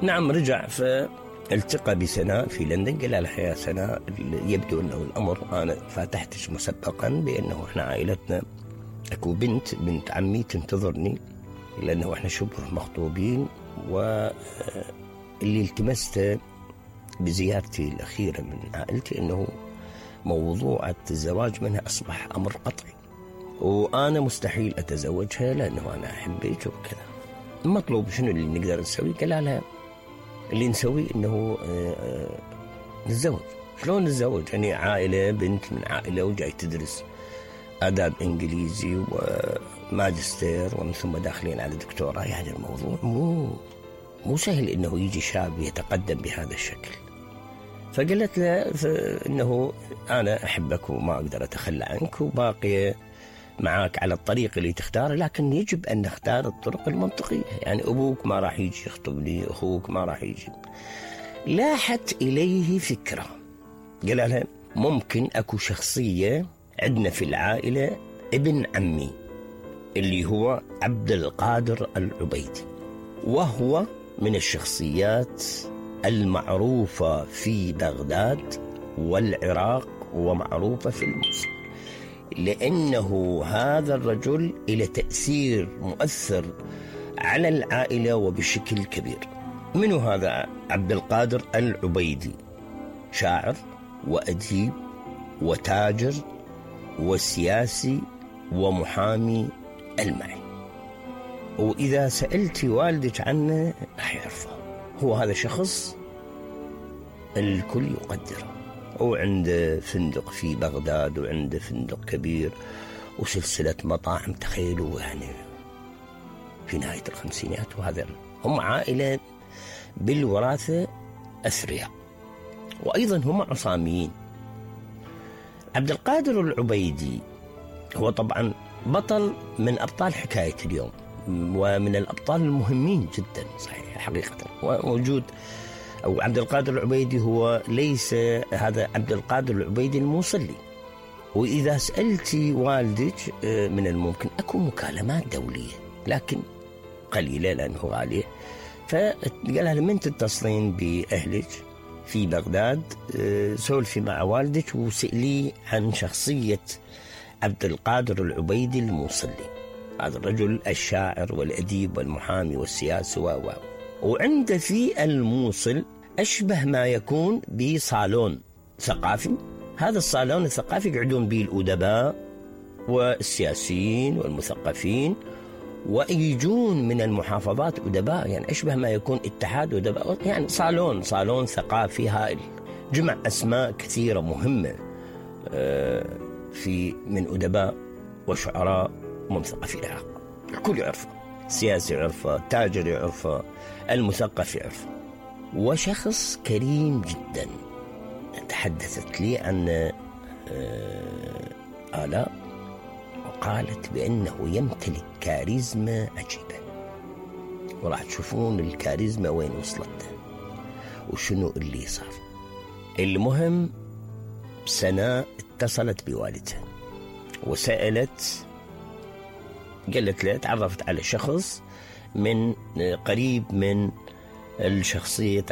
نعم رجع فالتقى بسناء في لندن. قال لها يا سناء يبدو أنه الأمر أنا فاتحتش مسبقا بأنه إحنا عائلتنا أكو بنت عمي تنتظرني لأنه إحنا شبه مخطوبين، واللي التمسته بزيارتي الأخيرة من عائلتي أنه موضوع الزواج منها أصبح أمر قطعي، وأنا مستحيل أتزوجها لأنه أنا أحبك وكذا. المطلوب شنو اللي نقدر نسوي؟ قال لها اللي نسوي أنه نتزوج. شلون نتزوج؟ يعني عائلة بنت من عائلة وجاي تدرس آداب إنجليزي وماجستير ومن ثم داخلين على دكتوراه، يعني الموضوع مو سهل إنه يجي شاب يتقدم بهذا الشكل. فقالت له إنه أنا أحبك وما أقدر أتخلى عنك وباقية معاك على الطريق اللي تختاره، لكن يجب أن نختار الطرق المنطقية. يعني أبوك ما راح يجي يخطبني، أخوك ما راح يجي. لاحت إليه فكرة، قال لها ممكن أكو شخصية عندنا في العائلة ابن عمي اللي هو عبد القادر العبيدي، وهو من الشخصيات المعروفة في بغداد والعراق ومعروفة في الموصل، لأنه هذا الرجل له تأثير مؤثر على العائلة وبشكل كبير. منو هذا عبد القادر العبيدي؟ شاعر وأديب وتاجر وسياسي ومحامي ألماني، وإذا سألتي والدك عنه راح يعرفه. هو هذا شخص الكل يقدره، وعنده فندق في بغداد وعنده فندق كبير وسلسلة مطاعم، تخيلوا يعني في نهاية الخمسينات. وهذا هم عائلة بالوراثة أثرياء، وأيضا هم عصاميين. عبد القادر العبيدي هو طبعا بطل من أبطال حكاية اليوم، ومن الأبطال المهمين جدا صحيح حقيقة. ووجود أو عبد القادر العبيدي هو ليس هذا عبد القادر العبيدي الموصلي. وإذا سألتي والدك من الممكن أكو مكالمات دولية لكن قليلة لأنه غالية، فقالها لمن تتصلين بأهلك في بغداد سولفي مع والدك وسألي عن شخصية عبد القادر العبيدي الموصلي، هذا الرجل الشاعر والأديب والمحامي والسياسي وعنده في الموصل أشبه ما يكون بصالون ثقافي. هذا الصالون الثقافي يقعدون به الأدباء والسياسيين والمثقفين، ويجون من المحافظات أدباء، يعني أشبه ما يكون اتحاد أدباء، يعني صالون ثقافي هائل. جمع أسماء كثيرة مهمة في من أدباء وشعراء ومثقفي العراق، الكل يعرفه، السياسي يعرفه، التاجر يعرفه، المثقف يعرفه. وشخص كريم جدا. تحدثت لي عن آلاء وقالت بأنه يمتلك كاريزما عجيبة، وراح تشوفون الكاريزما وين وصلت وشنو اللي صار. المهم سناء اتصلت بوالدها وسألت، قالت له تعرفت على شخص من قريب من الشخصية